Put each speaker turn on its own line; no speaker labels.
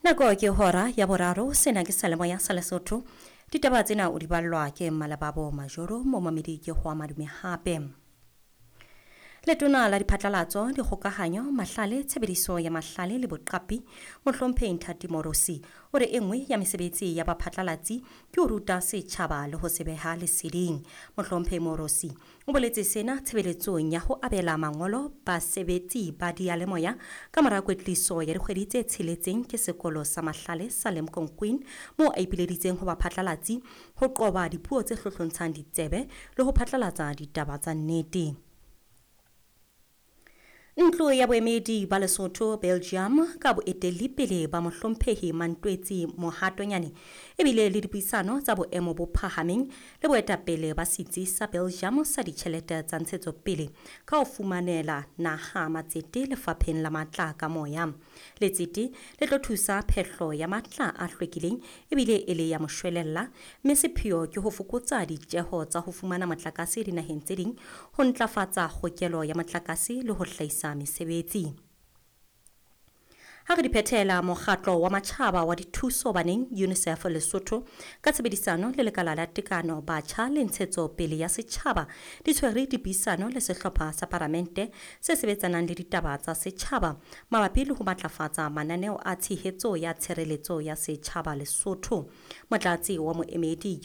Nako ke hora ya boraro. Sena ke Salemoya sa Lesotho. Ditaba tsena o di ballwa ke Mmalebabo Majoro. Momamedi, ke ho madume hape. Letona la Diphatlalatso, Dikgokahanyo, Mahlale, Tshebediso ya Mahlale le Boqapi, Mohlomphehi Nthati Morosi, o re e nngwe ya mesebetsi ya baphatlalatsi ke ho ruta setjhaba le ho se beha leseding. Mohlomphehi Morosi o boletse sena tshebeletsong ya ho abela mangolo basebetsi ba diyalemoya ka mora kwetliso ya dikgwedi tse tsheletseng ke Sekolo sa Mahlale sa Limkokwing, moo a ipileditseng ho baphatlalatsi ho qoba dipuo tse hlohlontshang ditsebe le ho phatlalatsa ditaba tsa nnete. Ntlo ya Boemedi ba Lesotho Belgium, ka boetelli pele ba Mohlomphehi Mantwetsi Mohatonyane, ebile le dipuisano tsa boemo bo phahameng le boetapele ba Setsi sa Belgium sa Ditjhelete tsa Ntshetsopele ka ho fumanela naha matsete lefapheng la matla ka moya. Letsete le tlo thusa phehlo ya matla a hlwekileng ebile e le ya moshwelella, mme sepheo ke ho fokotsa ditjeho tsa ho fumana motlakase dinaheng tse ding, ho ntlafatsa kgokelo ya motlakase le ho hlahisa mesebetsi. Ha re di phethela, Mokgatlo wa Matjhaba wa Dithuso Baneng, UNICEF Lesotho, ka tshebedisano le Lekala la Tekano, Batjha le Ntshetsopele ya Setjhaba, di tshwere dipuisano le sehlopha sa Paramente se sebetsanang le ditaba tsa setjhaba mabapi le ho matlafatsa mananeo a tshehetso ya tshireletso ya setjhaba Lesotho. Motlatsi wa moemedi